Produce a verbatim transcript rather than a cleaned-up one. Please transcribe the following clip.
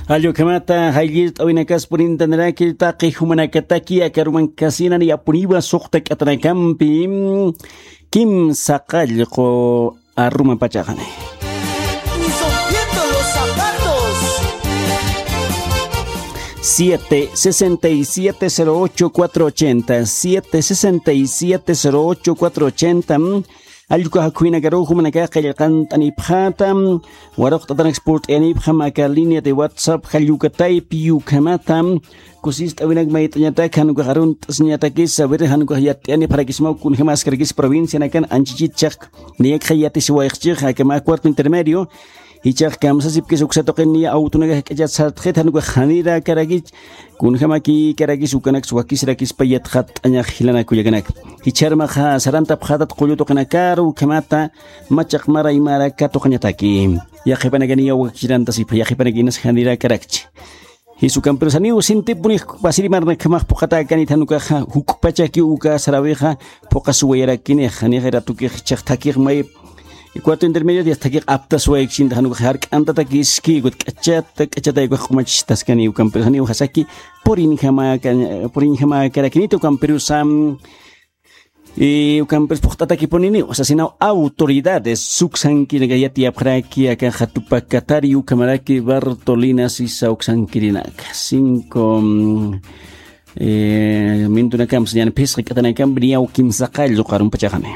Jallukhamata, jallirt'awinakas purintaniraki taqi jumanakataki, akaruman kasinan yapuniwa suqta k'atanakampi, kimsa qallqu arruma pachaqani. Ni rompiendo los zapatos. Siete sesenta y siete cero ocho cuatro ochenta, siete sesenta y siete cero ocho cuatro ochenta. Allquka jakhuynakaruw jumanakax qillqant'anipxäta, waruqt'atanaks purt'ayanipxam aka línea de WhatsApp jallukataypi. Ukhamata kusist'awinak mayt'añatak jan ukax arunt'asiñatakis, a ver, jan ukax yat'iyanipxarakismaw kunjämaskarakis provincianakan anchichit chaq niyakxa yatisiwayxchix aka mä cuarto intermedio. Jichhax kamsasipkis uksa tuqin niya awtunakax jak'achat sartxit, jan ukax janirakaraki kunjämakïkarakis ukanaks wakisirakispa yatxatt'añax jilanak kullakanak. Jichharmaxa sarantapxätat qullu tuqinakaru, ukhamata machaq mara imara katuqañataki. Yaqhipanakaniya wakisirantasipxa, yaqhipanakïnas janirakarakchi. Jisukampirusaniw sintipuni pasirimarnakjamax phuqhatäkanit, jan ukaxa juk'pachakiw uka sarawixa phuqhasuwayarakinixa, nixa ratukix jichhax thakix may cuarto intermedio dias thakix aptasuwaykshinta, jan ukax jark'antatakiski, ukat k'achata k'achatay ukax q'umachitaskani. Ukampirusaniw jasaki purinjamaka purinjamakarakinit ukampirusa. Y ukampis phuqt'atakipuniniw sasinaw autoridades suksankirinaka yatiyapxaraki aka qhatupa katari ukhamaraki Bartolina sisa uksankirinaka cinco, mm, eh, mintunakam sañan phisqa k'atanakampi niyaw kimsa qallqu arruma pachaqani.